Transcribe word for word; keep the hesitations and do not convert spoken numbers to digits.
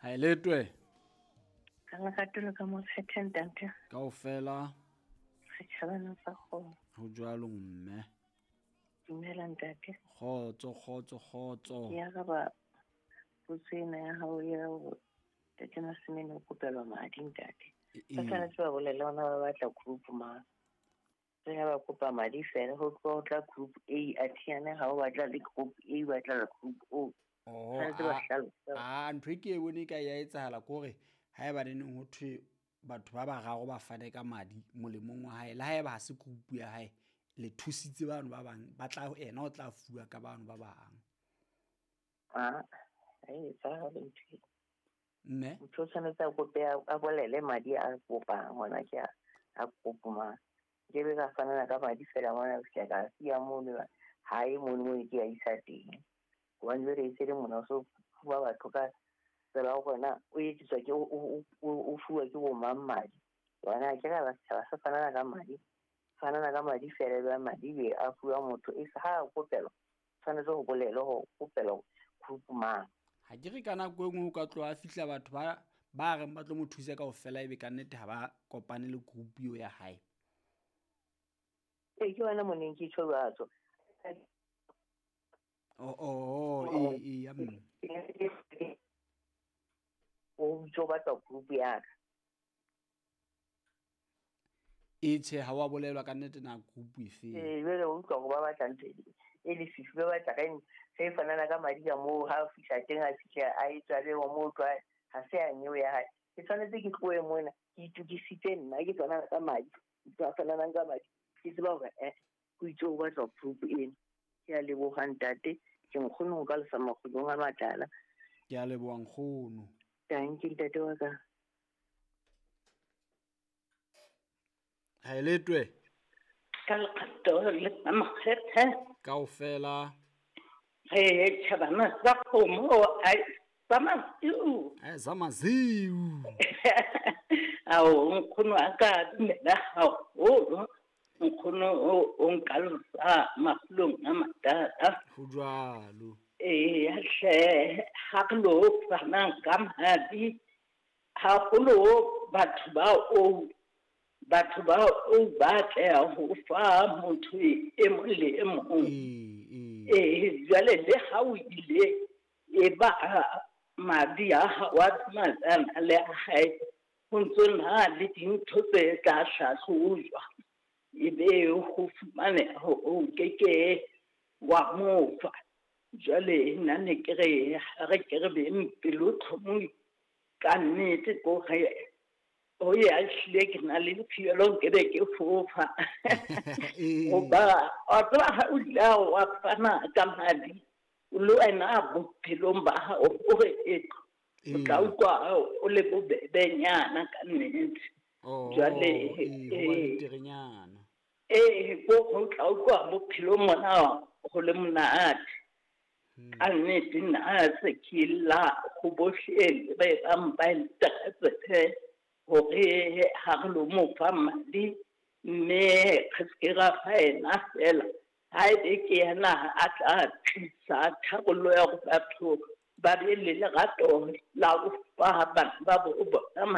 Ha e letwe. Ka lerato le ka mo kgetha ntate. Kaofela. Setjhabana sa kgomo. Ho jwalo mme. Dumela ntate. Kgotso kgotso kgotso. Ke araba potso ena ya hao ya hore ntate Masimene o kopelwa madi ntate. Ba tshwanetse ba bolele ona ba batla group mang. Re ha ba kopa madi fela ho tloha ho tla group A athiane ha o batla le group A batla le group O. Oh, Tshwanetse ba hlalose. a ntho e ke e bone ka ya etsahala ke hore haeba neneng ho thwe batho ba bararo ba fane ka madi molemong wa hae, le haeba ha se group ya hae, le thusitse bano ba bang, ba tla ena o tla fuwa ka bano ba bang. Ah, ha e etsahale ntho eo. Mme? Motho o tshwanetse a kope a bolele madi a kopang hona ke a a kopo mang. Ke be ka fanana ka madi fela mona ke ka siya mono hae mono mo ke a isa teng. Hobane jwale e se le mona o so fuwa batho ka tsela ya hore na o etsiswa ke o o fuwa ke bo mang madi. Hobane ha ke ra ba setjhaba se fanana ka madi. Fanana ka madi fela ebe madi be a fuwa motho e ha a kopelwa tshwanetse ho bolelwe hore kopelwa group mang. Ha ke re ka nako e nngwe o ka tloha a fihla batho ba ba reng ba tlo mo thusa kaofela ebe ka nnete ha ba kopane le group eo ya hae. Ee, ke yona mo neng ke tjho jwalo. Oh, oh, oh, ee, ee, ya mme. O bitso batla group ya ka. E tjhe, ha wa bolelwa ka nnete na group efe. Ee, jwale o utlwa hore ba batla ntho e lefifi, ba batla ka eng, ge fanana ka madi ka moo ha o fihla teng a fihla a etswa le wa moo tlwa ha se ya nyewe ya hae. Ke tshwanetse ke tlohe mona ke itokisitse nna ke tswana ka madi, ke a fananang ka madi. Ke tseba hore eh ho itse ho batla group ena. Ke a leboha ntate, ke nkgono ho ka lesa makgolong a matala. Ke a leboha nkgono. Thank you ntate wa ka. Ha e letwe. Ka lerato le ka makgethe. Kaofela. Re tjhabana sa kgomo ai sa masiu. Ai sa masiu. Ao nkgono a ka dumela haholo. Nkgono o nkalosa makgolong a matala. Ho jwalo. Ee hle ha re lo fanang ka madi haholo batho ba o batho ba o batla ho fa motho e mong le e mong. Ee jwale le ha o ile e ba madi a hao a tsamaisana le a hae ho ntso na le dintho tse tla hlahlojwa ebe ho fumaneha o keke wa mo fa. Jwale nna ne ke re ha re ke re beng pelo tlhomohi ka nnete ko re o ya hlile ke na le phielo nke be ke fofa. Hoba o tseba ha o ile wa fana ka madi le wena bophelong ba hao o re e o tla utlwa o le bobebenyana ka nnete. Jwale ee ho ba beterenyana. Ee ko ho tla utlwa bophelong mona ho le monate. Ka nnete nna se ke la ho bohle ba bang ba ntatse hore ha re lo mo fa madi mme re se ke ra fa ena fela. Ha ebe ke yena a tla tlisa tharollo ya hore batho ba be le lerato la ho fa bana ba bo bona.